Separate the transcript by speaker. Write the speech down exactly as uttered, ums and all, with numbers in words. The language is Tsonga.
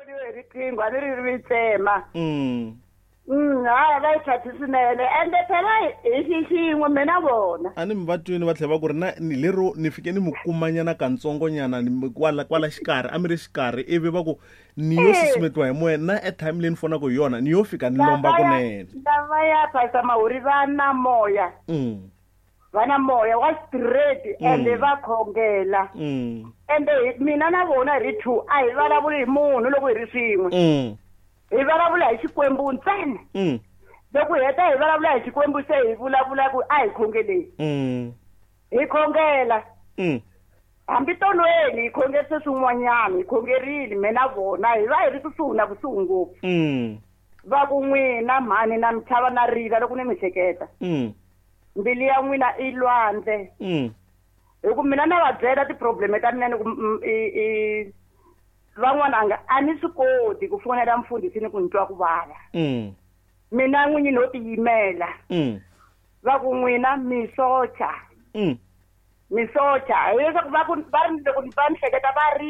Speaker 1: Hi riqingho a ni ri ri tsema.
Speaker 2: Mm.
Speaker 1: Mm, hayi, va yi thathi swinene, ende phela hi xi xin'we mina vona.
Speaker 2: A ni mi va twini va tlhela va ku ri na ni lero ni fike ni mi kumanyana kantsongonyana ni mi kwala kwala xikarhi, a mi ri xikarhi, ivi va ku ni yo susumetiwa hi moya na airtime leyi ni fonaka hi yona ni yo fika ni lomba kunene.
Speaker 1: Lava ya Pastor Mahuri va na moya.
Speaker 2: Mm.
Speaker 1: Va na moya wa straight, ende
Speaker 2: Mm.
Speaker 1: va khongela.
Speaker 2: Mm.
Speaker 1: Ende hi- mina na vona hi ri two, a hi vulavuli hi munhu loko hi ri swin'we.
Speaker 2: Mm.
Speaker 1: Hi vulavula hi Xikwembu ntsena.
Speaker 2: Mm.
Speaker 1: Loko hi heta hi vulavula hi Xikwembu, se hi vulavula ku a hi khongeleni.
Speaker 2: Mm.
Speaker 1: Hi khongela.
Speaker 2: Mm.
Speaker 1: Hambi tolweni hi khongerise swin'wanyana, hi khongerile mina vona, hi va hi ri kusuhi na kusuhi ngopfu.
Speaker 2: Mm.
Speaker 1: Va ku n'wina mhani na mi chava na rila loko ni mi hleketa.
Speaker 2: Mm.
Speaker 1: Mbilu ya n'wina i lwandle.
Speaker 2: Mm.
Speaker 1: Hi ku mina na va byela ti-problem ta mina ni ku mm, i i van'wana a nga a ni swi koti ku fonela mfundhisi ni ku ni twa ku vava.
Speaker 2: Mm.
Speaker 1: Mina n'winyi no tiyimela.
Speaker 2: Mm.
Speaker 1: Va ku n'wina mi socha.
Speaker 2: Mm.
Speaker 1: Mi socha. Hileswaku va ku va ri loko va ni hleketa va ri